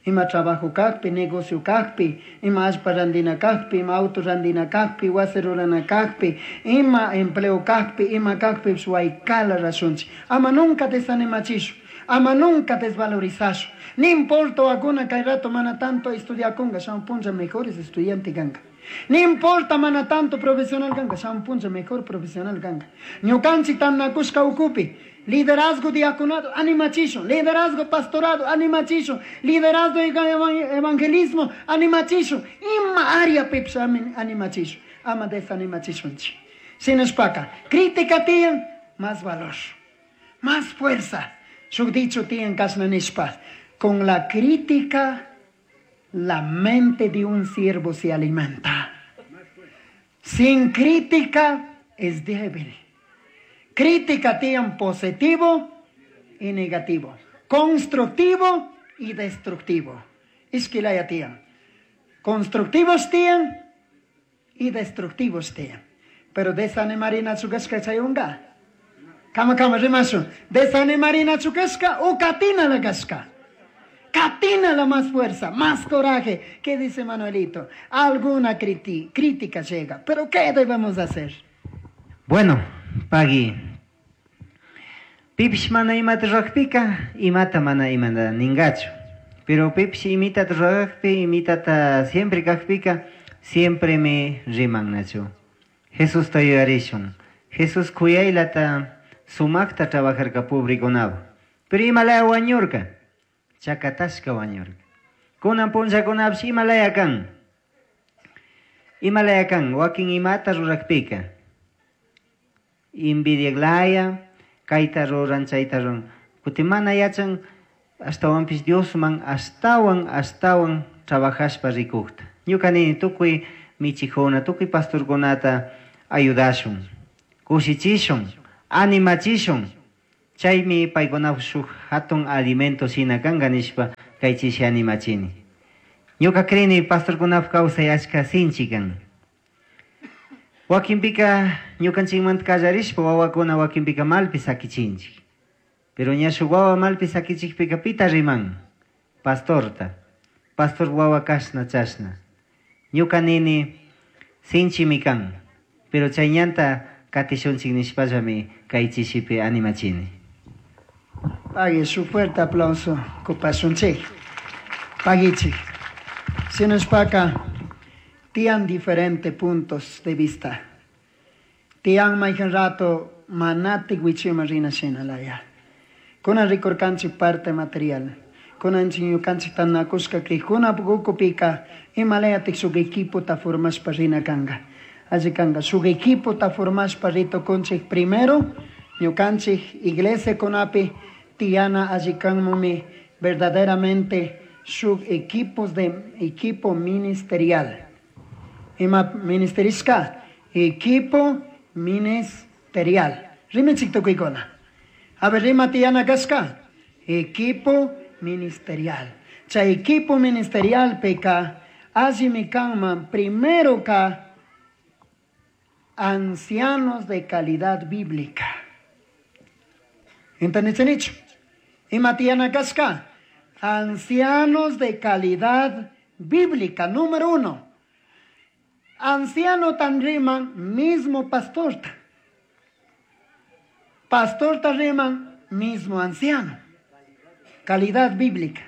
ima trabajo kakpi, negocio kakpi, ima allpa randina kakpi, ima auto randina kakpi, wasi rurana kakpi, ima empleo kakpi, ima kakpipish waykala rashunchik. Ama nunca desanimachishu, ama nunca desvalorizashu. Ni importa wakuna kay rato mana tanto estudiakunga, shamun punlla mejores estudiante kanka. Ni importa mana tanto profesional ganga, shamun punlla mejor profesional ganga. Ñukanchik tantanakushka ukupi, liderazgo diaconado, animachisho, liderazgo pastorado, animachisho, liderazgo evangelismo, animachisho, ima área pipish animachisho, ama desanimachishunchik. Shinashpaka, crítica tiyan, más valor, más fuerza. Shuk dicho tiyan kashna nishpa, con la crítica la mente de un siervo se alimenta. Sin crítica es débil. Crítica tiene positivo y negativo, constructivo y destructivo. Ishkilaya tiyan. Constructivos tiyan y destructivos tiyan. Pero desanimarina chukashka chayunga. Kama kama rimashu. Desanimarina chukashka o katina la kashka. Katina la más fuerza, más coraje. ¿Qué dice Manuelito? Alguna crítica llega, pero ¿qué debemos hacer? Bueno, pagui. Pipish mana imata rurakpika, imata mana imata ningachu. Pero pipish imitata rurakpi, imitata siempre kakpika, siempre me riman nachu. Jesús ta yuyarishun. Jesús kuyaylata sumakta trabajarka pobrekunawan. Pero imalaya wañurka. Chakatashka wañurka. Kunan punllakunapish imalaya kan. Imalaya kan, wakin imata rurakpika. Envidiaglaya, kayta ruran, chayta ruran. Kutin mana yachan, ashtawanpish Diosman, ashtawan, ashtawan trabajashpa rikukta. Ñuka nini tukuy michikuna, tukuy pastorkunata ayudashun, kushichishun, animachishun. Chaymi paykuna shuk hatun alimento shina kanka nishpa kay chishi animachini. Ñuka crini pastorkunap kawsay achka sinchi kan. Wakinpika ñukanchikmanta kallarishpa wawakuna wakinpika malpi sakichinchik. Pero ña shuk wawa malpi sakichikpika pita riman? Pastorta. Pastor wawa kashna chashna. Ñuka nini sinchimi kan. Pero chay ñanta katishunchik nishpallami kay chishipi animachini. Pague su fuerte aplauso, kupashunchik. Paguichik. Sinushpaka, tian diferentes puntos de vista. Tian maijan rato manati wichima rina shinalaya. Kunan rikurkanchik parte material. Kunan ñukanchik tanakushka krijuna ukupika imalayatik shuk equipo ta formashpa rina kanga. Alli kanga shuk equipo ta formashpa ritukunchik primero ñukanchik iglesia kunapi tiana alli kanmumi verdaderamente shuk equipos de equipo ministerial. Ima ministerishka equipo ministerial. Rimenchik tukuykuna. A ver, rima tiana kashka equipo ministerial. Chay equipo ministerial peka allimi kanman primero ka ancianos de calidad bíblica. ¿Entendiste? Ima tiana kashka ancianos de calidad bíblica, número uno. Anciano tan riman, mismo pastor. Pastor tan riman, mismo anciano. Calidad bíblica.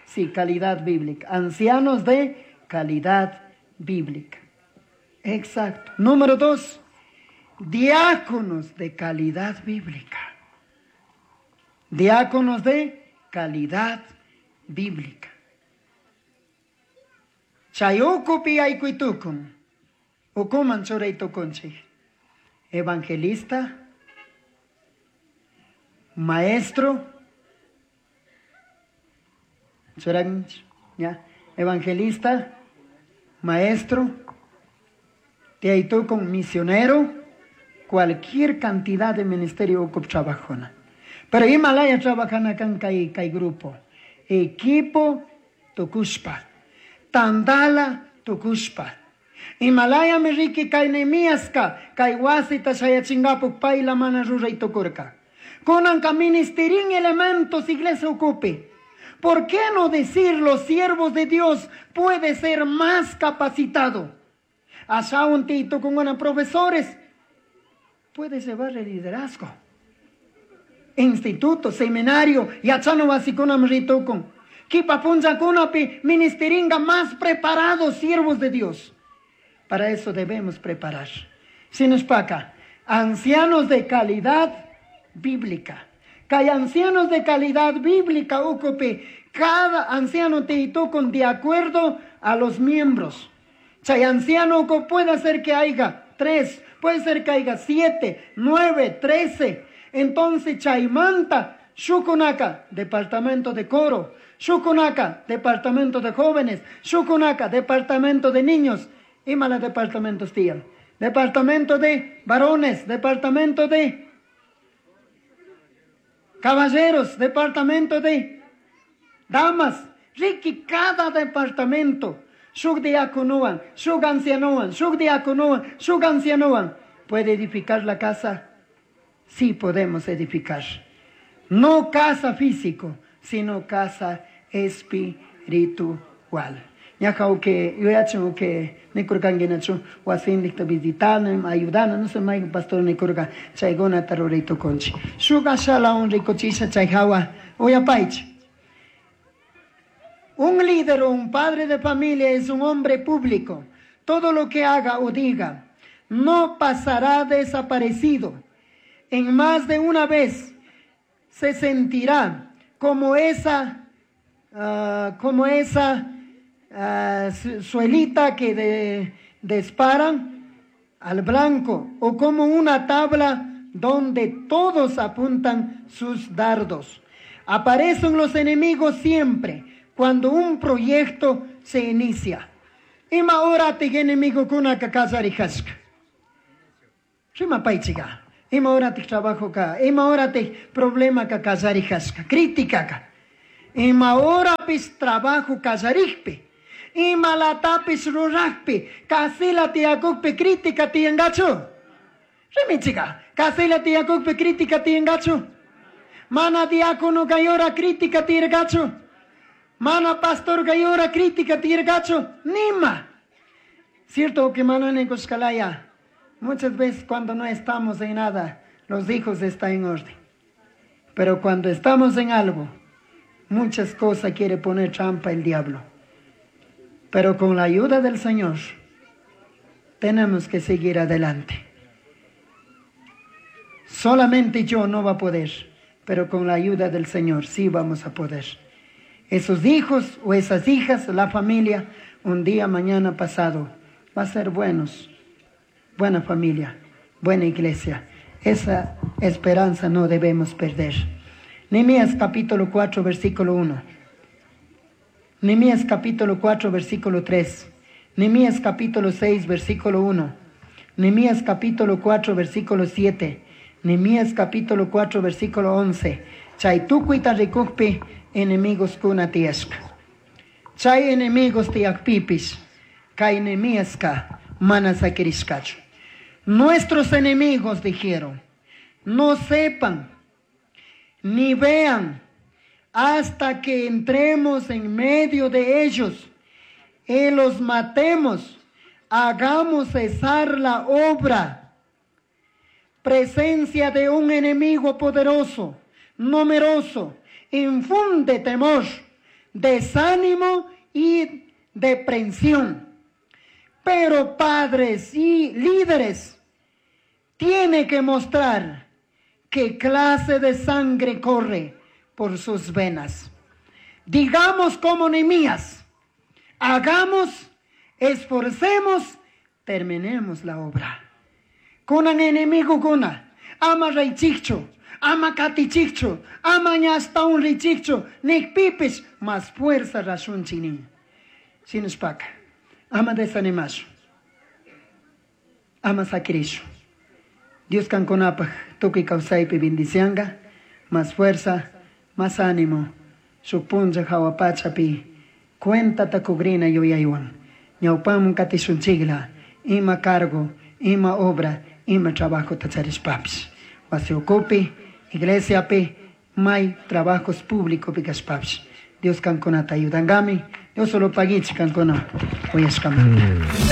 Sí, calidad bíblica. Ancianos de calidad bíblica. Exacto. Número dos, diáconos de calidad bíblica. Diáconos de calidad bíblica. Chayukupi aykuitukun. Ukuman churaytukunchik. Evangelista, maestro, ya, evangelista, maestro, con misionero, cualquier cantidad de ministerio ukup trabajona. Pero Himalaya trabajan acá en kay, kay grupo. Equipo tukushpa. Tandala tukushpa. Himalaya me riki kay Nehemiaska, kay wasita shayachingapuk payla mana ruray tukurka. Kunanka ministerin elementos iglesia ocupe. ¿Por qué no decir los siervos de Dios puede ser más capacitado? Allá un tito con unos profesores puede llevar el liderazgo. Instituto, seminario, yachano basikunam ritukun. Kipa punchakunapi ministeringa más preparados siervos de Dios. Para eso debemos preparar. Sinushpaka, ancianos de calidad bíblica. Kay ancianos de calidad bíblica, ucupi, cada anciano te con de acuerdo a los miembros. Chay anciano puede ser que haya tres, puede ser que haya siete, nueve, trece. Entonces, chaymanta, shukunaka, departamento de coro, shukunaka, departamento de jóvenes, shukunaka, departamento de niños, y mala departamentos tían. Departamento de varones, departamento de caballeros, departamento de damas, Ricky, cada departamento, shuk diaconoan, shuk ancianoan, shuk diaconoan, shuk ancianoan, ¿puede edificar la casa? Sí podemos edificar. No casa físico, sino casa espiritual. Ñaja que yo ya tengo que nikurkanguinachu wasindikta visitarme, ayudarnos, no sé más pastor nikurka chayguna tarurito conchi. Shuka shala un ricochisha chayjawa uyapaich. Un líder o un padre de familia es un hombre público. Todo lo que haga o diga no pasará desaparecido. En más de una vez se sentirá como esa, uh, como esa uh, suelita que de, disparan al blanco, o como una tabla donde todos apuntan sus dardos. Aparecen los enemigos siempre cuando un proyecto se inicia. Ima horatik enemigokunaka kallarishka. Rimapaychika. Ima horatik trabajoka, ima horatik problemaka kallarishka, criticaka. Ima horapis trabajo kallarikpi, ima latapis rurakpi, kasila tiyakukpi crítica tiyangachu. Rimichika, kasila tiyakukpi crítica tiyangachu. Mana diácono kayora crítica tiyargachu. Mana pastor kayora crítica tiyargachu. Nima. Cierto que mana nikushkalaya. Muchas veces cuando no estamos en nada, los hijos están en orden. Pero cuando estamos en algo, muchas cosas quiere poner trampa el diablo. Pero con la ayuda del Señor, tenemos que seguir adelante. Solamente yo no va a poder, pero con la ayuda del Señor sí vamos a poder. Esos hijos o esas hijas, la familia, un día, mañana, pasado, va a ser buenos. Buena familia, buena iglesia. Esa esperanza no debemos perder. Nehemías capítulo cuatro, versículo uno. Nehemías capítulo cuatro, versículo tres. Nehemías capítulo seis, versículo uno. Nehemías capítulo cuatro, versículo siete. Nehemías capítulo cuatro, versículo once. Chay tukuyta rikukpi enemigos kuna tiyashka. Chay enemigos tiyakpipis, kay Nehemíaska mana sakirishkachu. Nuestros enemigos dijeron, no sepan ni vean hasta que entremos en medio de ellos y los matemos, hagamos cesar la obra. Presencia de un enemigo poderoso, numeroso, infunde temor, desánimo y depresión. Pero padres y líderes tienen que mostrar qué clase de sangre corre por sus venas. Digamos como Nehemías, hagamos, esforcemos, terminemos la obra. Kunan enemigo kuna, ama reychicho, ama katichicho, ama ñastawan richicho, nikpipis, más fuerza rashunchinin. Sinuspaka, ama desanimashu, ama sakirishu. Dios kankunapaj tukuy kawsaypi bendicianga, más fuerza, más ánimo. Shuk punlla hawa pachapi cuenta takugrina yuyaywan. Ñawpamun katishunchikla, ima cargo, ima obra, ima trabajo tacharishpapis. Wasi ukupi, iglesiapi, may trabajos públicos pikashpapis. Dios kankunata ayudangami. Dios solo paguichi kankuna uyashkamanta.